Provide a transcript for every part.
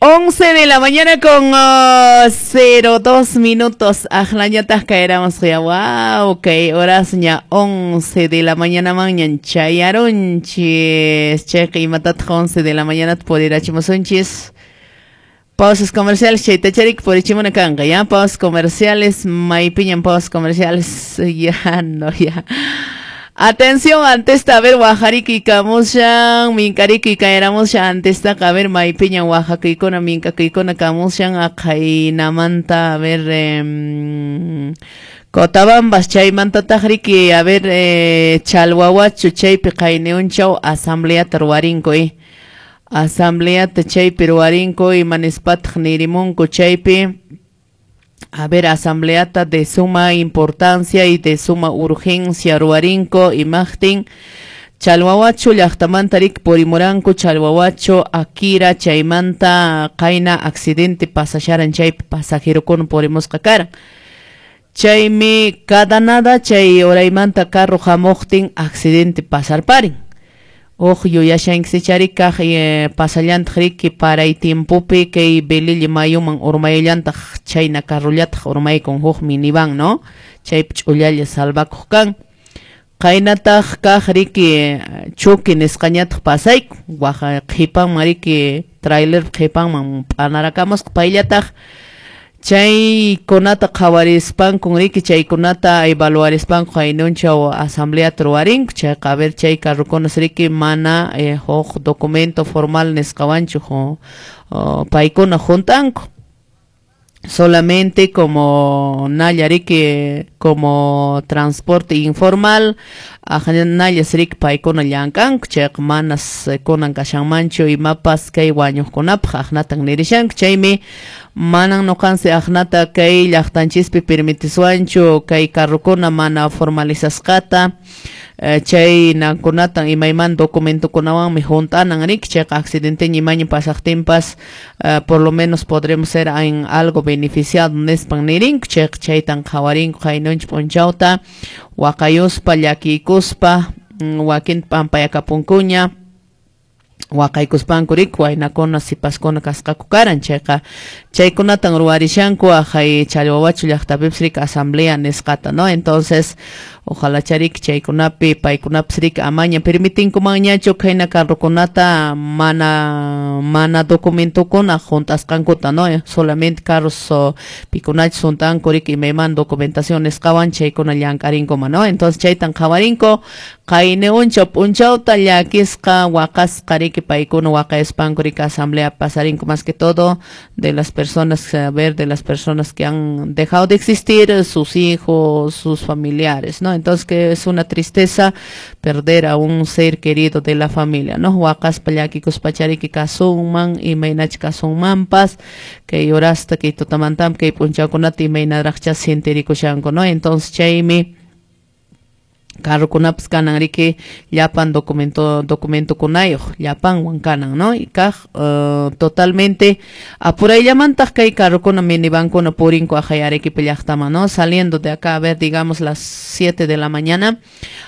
11 de la mañana con 02 minutos. Aqlañataq kayramos ya. Wow, kay horasña 11 de la mañana mañan chayarunchis. Chayqa imatataq 11 de la mañana purirachimusunchis. Pausas comerciales, chaytacharik purichimuna kanqa, ya. Pausas comerciales, maypiñan pausas comerciales. Ya, no, ya. Atención, antes a ver, wajariki kamushan, minkariki kayramushan, antes a ver, maypiñan wajakaykuna, minkakaykuna kamushan, aqhaynamanta, a ver, Cotabambas, chaymantataq riki, a ver, Chalhuahuacho, chaypi qayniunchaw, asambleata ruwarinko, asambleata chaypi ruwarinko, imanispataq nirimunku chaypi. A ver, asambleata de suma importancia y de suma urgencia ruwarinko imaqtin Chalhuahuacho llaqtamanta rik purimuranku Chalhuahuacho Akira chaymanta qayna accidente pasasharan chaypi pasajerokuna purimusqa karan. Chaymi cada nada chay horaymanta carro hamuqtin accidente pasarparin. Huk yuyashankichari kaq pasallantaq riki paray tiempopi kay Belille mayuman urmayllantaq chayna carrollataq urmaykun huk minivan, ¿no? Chaypi ch'ullalla salvakuq kan. Qaynataq kaq riki choque nisqañataq pasaykun waqa qhipanman riki trailer qhipanman p'anarakamusqa payllataq. Chaykunata qhawarispankun riki chaykunata evaluarispanku qaynunchaw asambleata ruwarinku chayqa a ver chay carrokunas riki mana huk documento formal nisqawanchu paykuna hunt'anku. Solamente como nalla riki como transporte informal nallas riki paykuna llank'anku chayqa manas kunan kashanmanchu imapas kay wañuqkunapaq aqnatan nirishanku chaymi manan nuqansi aqnata kay llaqtanchispi permitiswanchu kay carrokuna mana formalizasqata chay nankunatan imayman documentokunawanmi hunt'anan riki chayqa accidenteña imaña pasaqtinpas por lo menos podremos ser en algo beneficiado nispan nirinku chayqa chaytan qhawarinku qaynunchik p'unchawta waqayuspa llakiykuspa wakinta p'ampayakapunkuña waqaykuspanku riki waynakuna sipaskuna kasqaku karan chayqa chaykunatan ruwarishanku aqhay Chalhuahuacho llaqtapipis riki asamblea nisqata, ¿no? Entonces ojalá chariki chaykunapi paykunapis riki amaña permitinkumanñachu khayna carrokunata mana documentokuna hunt'asqankuta, ¿no? Solamente carros pikunachus hunt'anku riki imayman documentación nisqawan chaykuna llank'arinkuman, ¿no? Entonces chaytan qhawarinku qayni unchaw p'unchawta llakisqa waqasqa riki paykuna waqayaspanku riki asamblea pasarinku más que todo de las personas, a ver, de las personas que han dejado de existir, sus hijos, sus familiares, ¿no? Entonces que es una tristeza perder a un ser querido de la familia, ¿no? Waqaspa llakikuspa chariki kasunman, imaynach kasunmanpas, kay horasta kay tutamantam kay p'unchawkunata imaynaraqcha sintirikushanku, ¿no? Entonces chaymi carrokunapas kanan riki llapan documentokunayuq llapanwan kanan, ¿no? Y kaq totalmente apurayllamantaq kay carrokuna minivankuna purinku aqhay Arequipa llaqtaman, ¿no? Saliendo de acá, a ver, digamos las 7 de la mañana,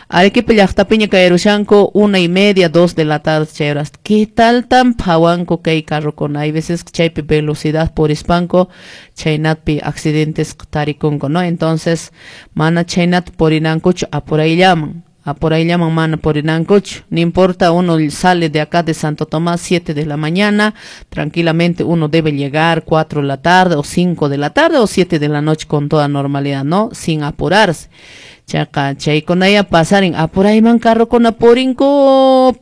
Arequipa llaqtapiña kayarushanku 1:30, 2 de la tarde chay horas. ¿Qué tal tan phawanku kay carrokuna? Hay veces chaypi velocidad purispanku chaynatpi accidentes tarikunku, ¿no? Entonces mana chaynat purinankuchu apurayllaman. Apurayllaman mana purinankuchu. No importa, uno sale de acá de Santo Tomás 7 de la mañana, tranquilamente uno debe llegar 4 de la tarde o 5 de la tarde o 7 de la noche con toda normalidad, ¿no? Sin apurarse. Chayqa chaykunaya pasarin apurayman carrokuna purinku.